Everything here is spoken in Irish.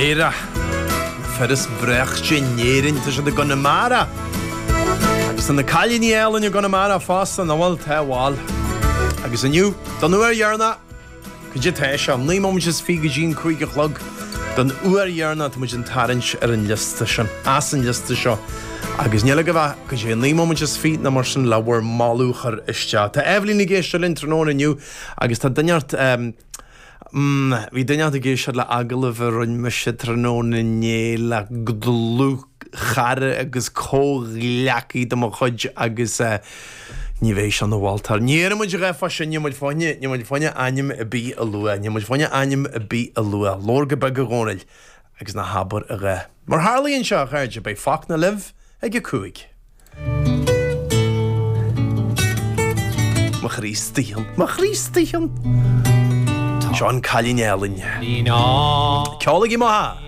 Éire, na fir is braichte in Éirinn, tá siad i gConamara! Agus tá na cailíní álainn i gConamara fosta, nach bhfuil? Tá, bhal. Agus inniu, don uair dheireanach, cad é tá sé, 9 móimint is 20 go dtí an 5 a chlog, don uair dheireanach tá muid ag tarraingt ar an liosta sin, as an liosta seo. Agus níl agaibh ach, cad é, 9 móimint is 20 nó mar sin le bhur moladh a chur isteach. Tá Eibhlín ag éisteacht linn tráthnóna inniu agus tá duine ort, Mm, bhí duine ag éisteacht le agallamh a rinne mise tráthnóna inné le dlúthchara agus comhghleacaí de mo chuid agus eh, ní bheidh sé ina mholtóir. Ní déarfaidh muid a dhath fá sin, níl muid fá choinne, níl muid fá choinne ainm ar bith a lua, níl muid fá choinne ainm ar bith a lua. Labhair go beag a Dhónaill agus ná habair a dhath. Mar tharlaíonn sé, a chairde, beidh Fachtna libh ag a 5. Mo Chríostaí, mo Chríostaí. Seo an cailín álainn. Ceolaigí maith!